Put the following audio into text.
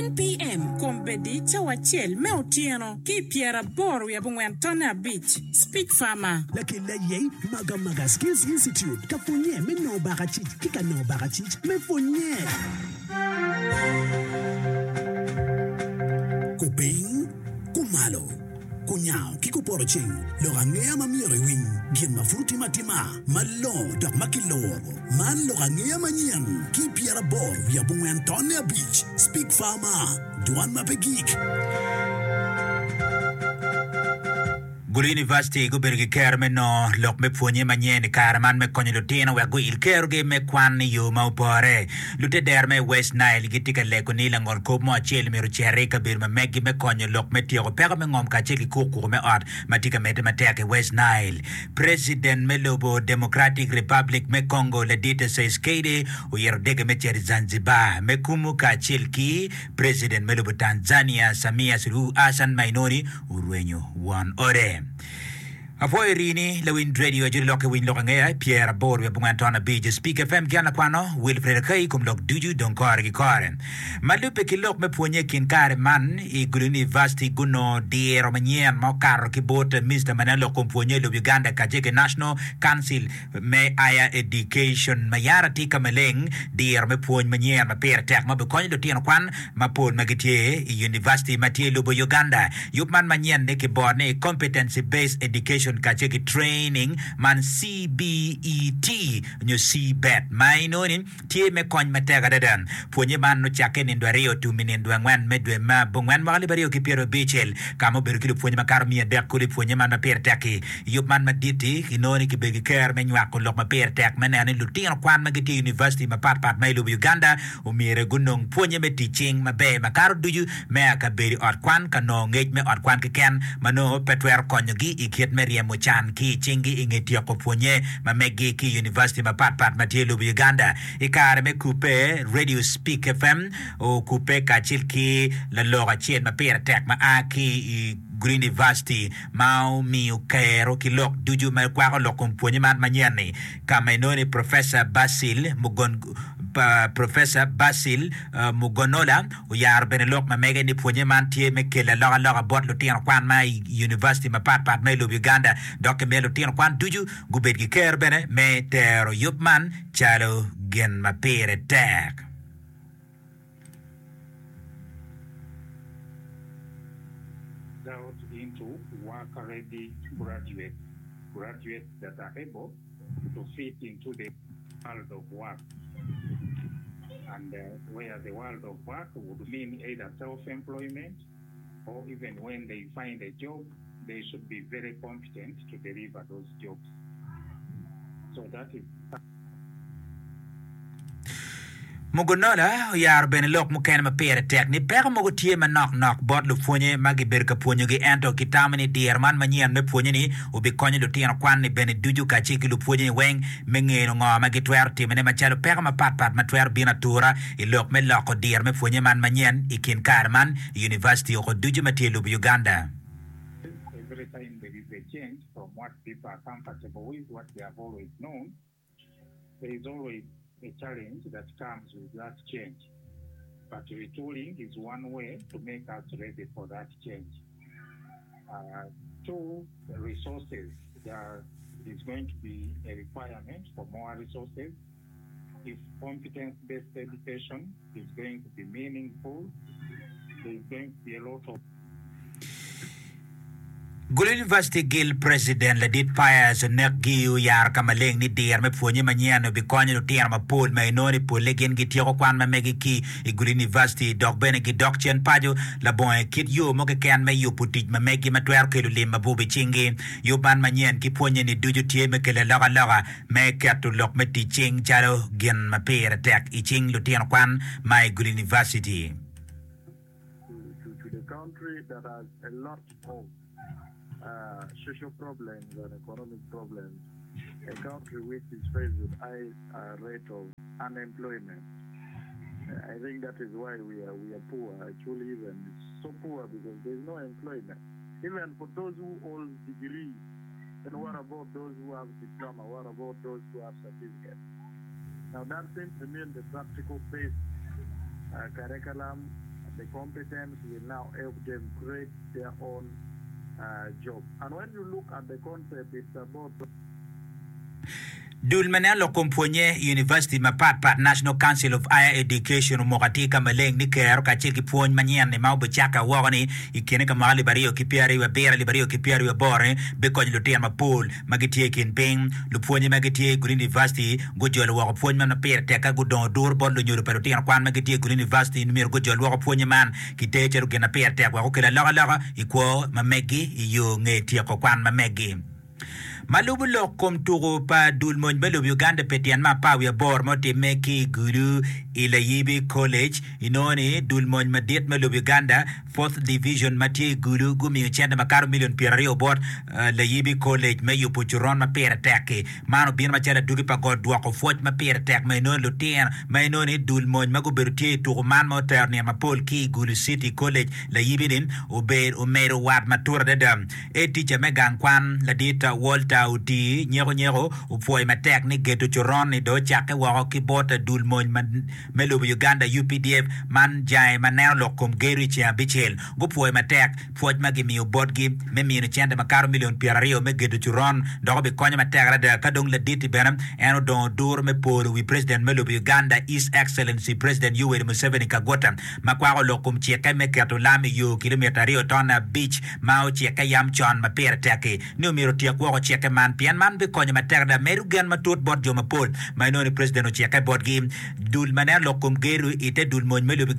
10 PM, Kombeddi cawa acel me otyeno ki i pyeraboro wiye abongwen tonne abic. Speak Farmer. Lakel aye Magamaga Skills Institute ka pwonye me nongo bakacic ki ka nongo bakacic me pwonye. Kupiny, kumalo, kunyango ki kupoto ceng, lok angeya ma myero iwiny, gin ma pud otim atima, malongo dok ma kiluro. Man lok angeya manyen ki 84 tonne abic, Speak Farmer, dwan ma pe gik. Gulu University gubedo ki kero me nongo lok me pwonye manyen i kare man me konyo lutino wek guil kerogi me kwan i yo ma opore. Lutedero me West Nile gitye ka lego ni langol kop mo acel myero ociti i kabedo ma meggi me konyo lok me tyeko peko me ngom kacel ki kukuku me ot ma tye ka medde matek i West Nile. Preciden me lobo Democratic Republic me Congo Ladit Tshisekedi oyito dege me cito i Zanzibar me kumu kacel ki Preciden me lobo Tanzania Samia Suluhu Hassan ma inoni orwenyo won ode. Apwoyo rini lawiny radio ajoli lok ki winy lok angeya 85 Speak FM ki an lakwano Wilfred Akai kom lok ducu dong kore ki kore. Ma lubbe ki lok me pwonye i kin kare man i Gulu University gunongo diro manyen ma okato ki bot Minista ma neno lok kom pwonye i lobo Uganda kacel ki National Council me Higher Education ma yara tye ka maleng diro me pwony manyen ma pire tek ma bikonyo lutino kwan mapol ma gitye i univaciti ma tye i lobo Uganda. Yub man manyen-ni kiboro ni Competency Based Education kacel ki Training man CBET nyo CBET ma inongo ni tye me kony matek adada. Pwonye man ocakke i nindo aryo tum i nindo angwen me dwe me abongwen mwaka alip aryo ki pyerabicel ka ma obedo ki lupwonye makato 300 kulu i pwonye man ma pire tek-ki. Yub man madit-ti kinongo ni kibedo ki ker me nywako lok ma pire tek me neno ni lutino kwan ma gitye i univaciti mapatpat ma i lobo Uganda Omyero gunong pwonnye me tic cing maber makato ducu me a ka bedo i ot kwan ka nongo ngec me ot kwan keken ma nongo pe twero konyogi i kit me ryemo can ki i cinggi i nge tyeko pwonnye ma meggi ki i univaciti mapat pat ma tye i lobo Uganda. I kare me kubbe, Radio Speak FM okubbe kacel ki lalok acel ma pire tek ma a ki i Greenivaciti ma omiyo kero ki lok ducu ma kwako lok kom pwonnye man manyen-ni ka ma inongo ni Professor Basil Professor Basil Mugonola oyaro bene lok ma mege ni pwonye man tye me kelo alokaloka bot lutino kwan ma i univaciti mapat pat ma i lobo Uganda dok kimito lutino kwan ducu gubed ki kero bene me tero yub man calo gin ma pire tek. Out into work ready graduates, graduates that are able to fit into the world of work and where the world of work would mean either self employment or even when they find a job they should be very competent to deliver those jobs so that is Mugonola oyaro bene lok mukene ma pire tek ni peko mogo tye manok nok bot lupwonye ma gibedo ka pwonyogi ento kitamo ni diro man manyen me pwonye-ni obikonyo lutino kwan-ni bene ducu kacel ki lupwonye-ni weng me ngeno ngo ma gitwero timone macalo peko mapat pat ma twero bino atura i lok me loko diro me pwonye man manyen i kin kare man i univaciti oko ducu ma tye i lobo Uganda. Every time there is a change from what people are comfortable with, what they have always known, there is always a challenge that comes with that change but retooling is one way to make us ready for that change. Two, resources, there is going to be a requirement for more resources if competence based education is going to be meaningful, there is going to be a lot of. Gulu University Guild President Ladit Pius Onekgi oyaro ka maleng ni diro me pwonye manyen obikonyo lutino mapol ma inongo ni polle gin gityeko kwan ma megi ki i Gulu University dok bene gidok cen paco labongo kit yo mo keken me yubo tic ma megi ma twero kelo lim mabup i cinggi. Yub man manyen ki pwonye ni ducu tye me kelo alokaloka me keto lok me tic cing calo gin ma pire tek i cing lutino kwan ma i Gulu University. to the country that has a lot of social problems and economic problems, a country which is faced with high rate of unemployment. I think that is why we are, we are poor, actually even so poor because there is no employment. Even for those who hold degrees, then what about those who have diploma? What about those who have certificate? Now that simply means the practical based curriculum. the competence will now help them create their own job and when you look at the concept it's about. Dul ma neno lok kom pwonye i univaciti mapat pat, National Council of Higher Education, omoko atir ka maleng ni kero kacel ki pwony manyen-ni ma obicakke woko-ni i kine ka mwaka 2027, 2028-ni bikonyo lutino mapol ma gitye i kin piny. Lupwonye ma gitye i gulu univaciti gujolo woko pwony man ma pire tek ka gudongo duru bot lunyodo pa lutino kwan ma gitye i gulu univaciti ni myero gujol woko pwonye man kiter calo gin ma pire tek wek okel alokaloka i kwo ma meggi i yo nge tyeko kwan ma meggi. Ma lubo lok kom tuku pa dul mony me lobo Uganda pi tyen me apar wiye aboro ma otimme ki i Gulu i Layibi College, inongo ni dul mony madit me lobo Uganda Fourth Division ma tye i Gulu gumiyo cente makato milion pyeraryo bot Layibi College me yubo coron ma pire tek-ki. Man obino macalo adwogi pa got dwoko pwoc ma pire tek ma inongo lutino ma inongo ni dul mony ma gubedo tye i tuku man ma otero nino mapol ki i Gulu City College Layibi-ni obedo omedo wat matut adada. Etica me gang kwan, Ladit Walter Otii nyeko nyeko opwoyo matek ni geto coron-ni dong ocakke woko ki bot dul mony me lobo Uganda, UPDF, man jange ma neno lok kom gedo i ceng abicel. Gupwoyo matek pwoc ma gimiyo botgi me mino cente makato milion pyeraryo me gedo coron dok obikonyo matek adada ka dong ladit-ti bene en odongo duro me polo wi President me lobo Uganda His Excellency President Yoweri Museveni Kaguta ma kwako lok kom cikke me keto lam i yo kilomita aryo tonne abic ma ocikke yam con ma pire tek-ki ni omyero otyek woko cikke man pien man bikonyo matek adada medo gen matut bot jo mapol ma inongo ni President ocikke botgi. Dul ma neno lok kom gedo i te dul mony me lobo.